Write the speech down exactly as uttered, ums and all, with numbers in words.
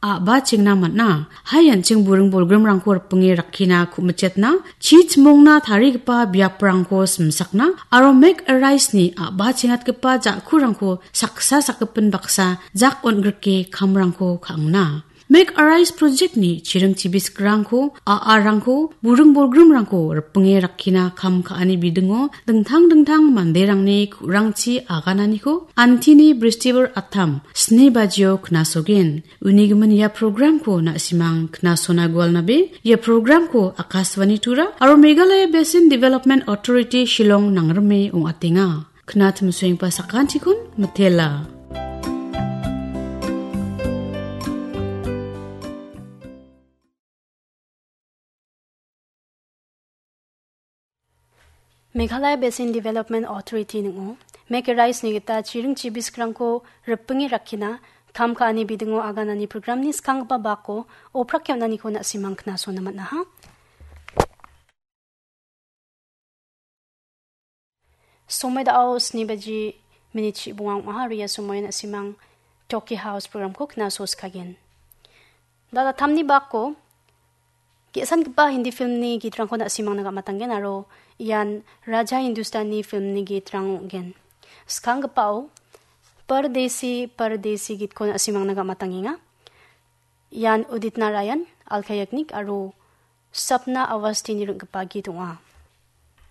a·bachengna man·a. Hai an·ching buring bolgrimrangko ripinge rakkina ku·mitchetna, chi chimongna tarigipa biaprangko simsakna aro Make a Rice-ni a·bachengatgipa ja·kurangko saksa sakgipin baksa jak on·grike kamrangko ka·angna. Make a Rice project-ni chiring chibiskrangko, a·arangko, buring bolgrimrangko ripinge rakkina kam ka·ani bidingo dingtang dingtang manderangni ku·rangchi agananiko antini Bristibar attam sni bajio knasogen. Unigimin ia programko na·simang knasona gualnabe, ia programko Akashvani Tura aro Meghalaya Basin Development Authority Shillong nangrime ong·atenga. Knatimsoenggipa sakantikon mitela. Meghalaya Basin Development Authority ning·o Make a Rice-ni gita chiring chibiskrangko ripinge rakkina kam ka·ani bidingo aganani programni skanggipa bako oprake on·aniko na·simang knasona man·aha. Somoi da·o sni baji minit chibonga ong·aha aro ia somoian na·simang Toki House programko knaso skagen. Da·altamni bako ge·sangipa Hindi filmni gitrangko na·simangna gam·atanggen aro ian Raja Hindustani filmni gitrang ong·gen. Skanggipao Pardesi Pardesi gitko na·simangna gam·atangenga. Ian Udit Narayan, Alka Yagnik aro Sapna Awasthini ring·gipa git ong·a.